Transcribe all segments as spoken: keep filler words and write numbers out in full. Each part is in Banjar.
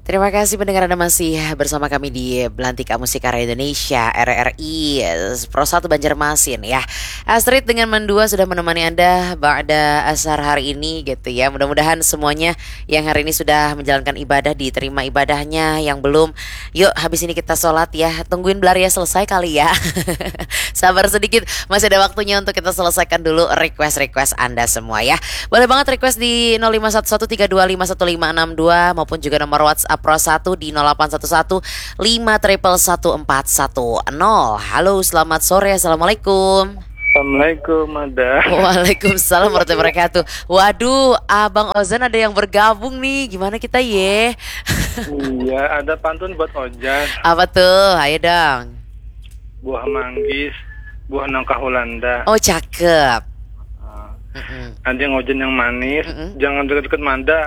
Terima kasih pendengar Anda masih bersama kami di Belantika Musik Karya Indonesia, R R I Pro satu Banjarmasin ya. Astrid dengan Mandua sudah menemani Anda pada asar hari ini gitu ya. Mudah-mudahan semuanya yang hari ini sudah menjalankan ibadah diterima ibadahnya, yang belum, yuk habis ini kita sholat ya. Tungguin belaria selesai kali ya. Sabar sedikit, masih ada waktunya untuk kita selesaikan dulu request-request Anda semua ya. Boleh banget request di nol lima satu satu tiga dua lima satu lima enam dua maupun juga nomor WhatsApp Pro satu di nol delapan satu satu lima triple satu empat satu nol. Halo, selamat sore. Assalamualaikum. Assalamualaikum, Mada. Waalaikumsalam warahmatullahi wabarakatuh. Waduh, Abang Ozan ada yang bergabung nih. Gimana kita ye? Iya, ada pantun buat Ozan. Apa tuh? Ayo dong. Buah manggis, buah nangka Hulanda. Oh, cakep. Ah. Mm-mm. Ada yang Ozan yang manis, Mm-mm. Jangan deket-deket Mada.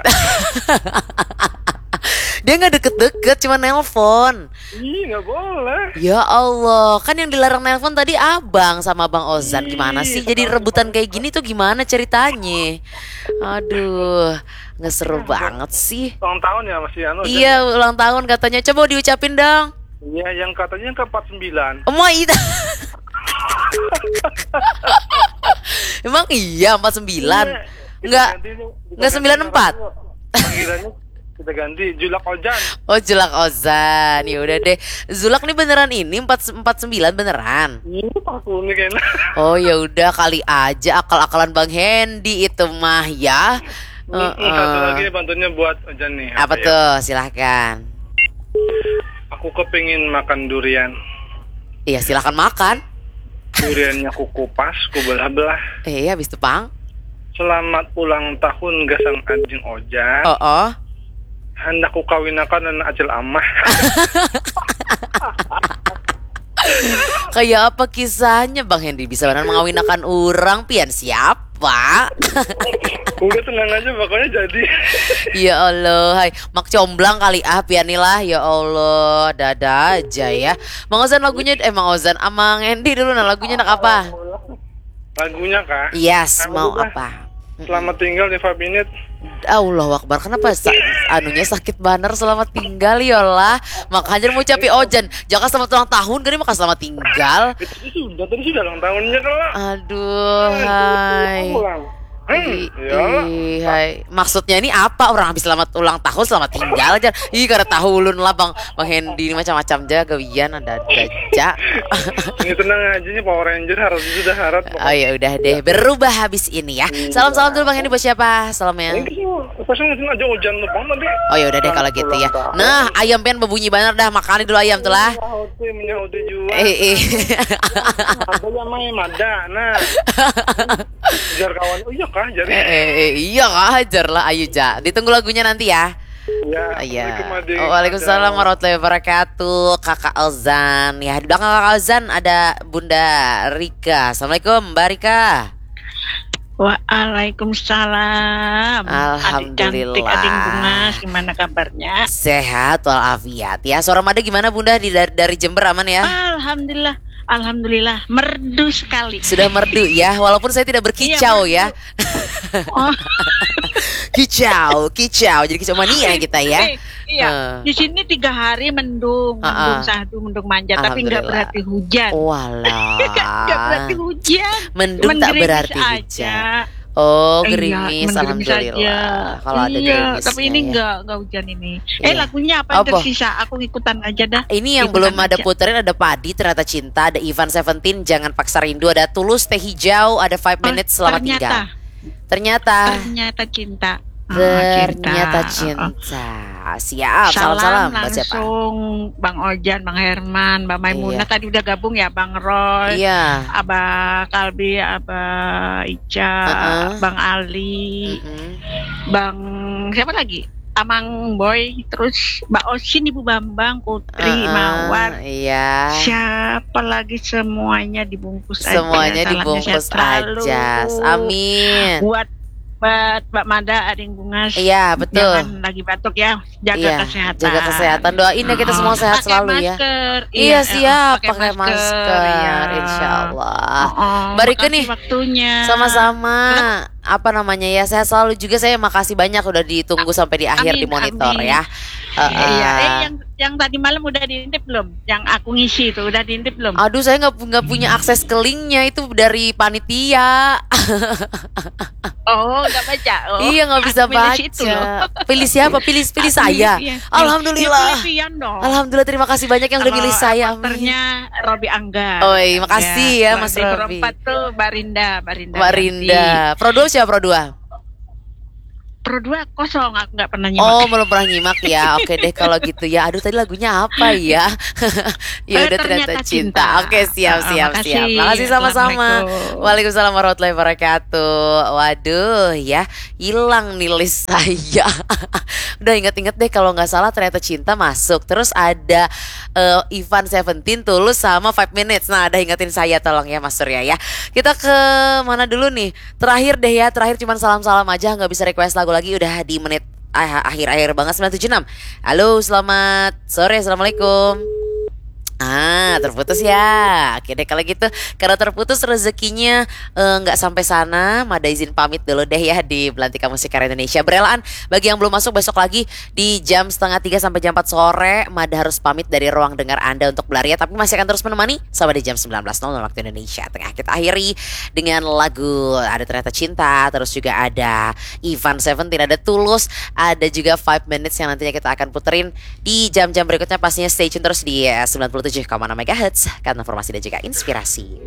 Dia nggak deket-deket, cuma nelpon. Ih, nggak boleh. Ya Allah, kan yang dilarang nelpon tadi abang sama Bang Ozan. Gimana sih? Jadi rebutan kayak gini tuh gimana ceritanya? Aduh, nggak seru banget sih. Ulang tahun ya, masih anu, Iya, ulang tahun katanya. Coba diucapin dong. Iya, yang katanya yang ke empat sembilan. Emang iya empat sembilan? Iya, kita Nggak, ganti nih, kita nggak ganti sembilan empat? Panggilannya kita ganti Julak Ozan. Oh, Julak Ozan. Ya udah deh. Julak nih beneran ini empat, empat sembilan beneran? Iya, pas ini kayaknya. Oh, ya udah kali aja akal-akalan Bang Hendy itu mah ya. Mm-mm, satu lagi pantunnya buat Ozan nih. Apa tuh? Silahkan. Aku kepingin makan durian. Iya, silahkan makan. Duriannya ku kupas, ku belah-belah. Eh, iya, habis itu, Pang. Selamat ulang tahun gasang anjing Ojak. Oh, oh. Hendak ku kawinakan anak acil amah. Kayak apa kisahnya Bang Hendy bisa benar mengawinakan orang, pian siapa? Udah tenang aja, pokoknya jadi. Ya Allah, hai. Mak comblang kali ah pian nih lah. Ya Allah, dada aja ya. Mang Ozan lagunya, eh Mang Ozan, Amang Hendy dulu nah lagunya nak apa? Lagunya kah? Yes, mau apa? Selamat tinggal di Fabinit. Allahu Akbar, kenapa sa- anunya sakit banar selamat tinggal yolah. Makanya mau capi Ojan, jaka selamat ulang tahun gini maka selamat tinggal. Itu sudah, tadi sudah ulang tahunnya kalau. Aduh, hai. Hmm, ih, hai. Maksudnya ini apa? Orang habis selamat ulang tahun, selamat tinggal aja. Ih, kada tahu ulun lah Bang, Bang Hendy ini macam-macam aja gawian ada ada aja. Ini tenang aja nih Power Ranger harus sudah harap. Oh ya udah deh, berubah habis ini ya. Salam-salam dulu Bang Hendy buat siapa? Salamnya. Pasang aja Ojan tuh Bang tadi. Oh ya udah deh kalau gitu ya. Nah, ayam pian berbunyi banar dah, makani dulu ayam tuh lah. Menyahuti, menyahuti juga. Eh, eh. Ada yang main ada. Nah. Ujar kawan, "Oh iya kah?" Jadi. Eh, eh, eh, iya kah? Ajar lah, ayo ja. Ditunggu lagunya nanti ya. Ya, iya. Assalamualaikum, Adik. Waalaikumsalam warahmatullahi wabarakatuh. Kakak Ozan. Ya, di belakang Kakak Ozan ada Bunda Rika. Assalamualaikum, Mbak Rika. Waalaikumsalam. Adik cantik, Ading Bungas, gimana kabarnya? Sehat walafiat. Ya, suara Mada gimana Bunda di dari, dari Jember aman ya? Alhamdulillah. Alhamdulillah, merdu sekali. Sudah merdu ya, walaupun saya tidak berkicau ya. Oh. Kicau, kicau. Jadi kicau mania kita ya. Eh, iya. Di sini tiga hari mendung, mendung sahdu, mendung manja, tapi nggak berarti hujan. Walah. Nggak berarti hujan. Mendung tak berarti hujan. Oh, gerimis, alhamdulillah. Kalau ada gerimisnya, tapi ini nggak nggak hujan ini. Eh, lagunya apa yang tersisa? Aku ikutan aja dah. Ini yang belum ada puterin, ada Padi, Ternyata Cinta, ada Ivan Seventeen, Jangan Paksa Rindu, ada Tulus, Teh Hijau, ada Five Minutes, Selamat Tinggal. Ternyata. Ternyata Cinta. Ternyata Cinta. Siap, salam-salam. Langsung Bang Ojan, Bang Herman, Mbak Maimunah tadi udah gabung ya, Bang Roy, Abah Kalbi, Abah Ica, Bang Ali, Bang siapa lagi? Amang Boy, terus Mbak Osin, Ibu Bambang, Putri Mawar. Iya. Siapa lagi, semuanya dibungkus aja. Semuanya dibungkus aja. Amin. Buat buat Mbak Mada, Ading Bungas. Iya, betul. Jangan lagi batuk ya. Jaga kesehatan. Jaga kesehatan. Doain ya kita semua sehat selalu ya. Pakai masker. Iya, siap. Pakai masker. Insya Allah. Mbak Rika nih. Sama-sama. Apa namanya ya? Sehat selalu juga. Saya makasih banyak udah ditunggu sampai di akhir di monitor ya. Iya, eh, Ah. yang yang tadi malam udah diintip belum? Yang aku ngisi itu udah diintip belum? Aduh, saya nggak pu- nggak punya akses ke linknya, itu dari panitia. Oh, nggak baca. Oh, Iya, nggak bisa aku milih baca. si itu loh. Pilih siapa? Pilih pilih Aku saya. milih, iya. Alhamdulillah. Ya, pilih Pian dong. Alhamdulillah, terima kasih banyak yang udah Kalau milih saya. Amin. Afternya Robi Angga. Oi, makasih ya, Kalau Mas di Pro Robi. empat tuh Barinda, Barinda. Mbak Rinda. Pro dua siapa, Pro dua? Pro dua kosong, aku nggak pernah nyimak. Oh, belum pernah nyimak ya. Oke deh kalau gitu ya. Aduh, tadi lagunya apa ya? Ya Eh, udah, Ternyata Ternyata Cinta. Cinta. Oke, siap, Ah, siap, makasih. siap. Makasih sama-sama. Assalamualaikum. Waalaikumsalam warahmatullahi wabarakatuh. Waduh, ya, hilang nih list saya. Udah, inget-inget deh, kalau nggak salah Ternyata Cinta masuk. Terus ada eh, Ivan Seventeen, Tulus, sama Five Minutes. Nah, ada ingetin saya, tolong ya, Mas Surya ya. Kita ke mana dulu nih? Terakhir deh ya, terakhir cuman salam-salam aja, nggak bisa request lagu lagi, udah di menit ah- akhir-akhir banget, sembilan tujuh enam. Halo, selamat sore, assalamualaikum. Ah, terputus ya. Oke deh, kalau gitu, karena terputus rezekinya, eh, nggak sampai sana, Mada izin pamit dulu deh ya di Belantika Musik Karya Indonesia. Berelaan, bagi yang belum masuk, besok lagi di jam setengah tiga sampai jam empat sore, Mada harus pamit dari ruang dengar Anda untuk Belaria, tapi masih akan terus menemani sampai di jam sembilan belas nol nol waktu Indonesia Tengah. Kita akhiri dengan lagu, ada Ternyata Cinta, terus juga ada Ivan Seventeen, ada Tulus, ada juga Five Minutes yang nantinya kita akan puterin di jam-jam berikutnya. Pastinya stay tune terus di, eh, sembilan puluh tujuh koma enam megahertz, karena informasi dan juga inspirasi.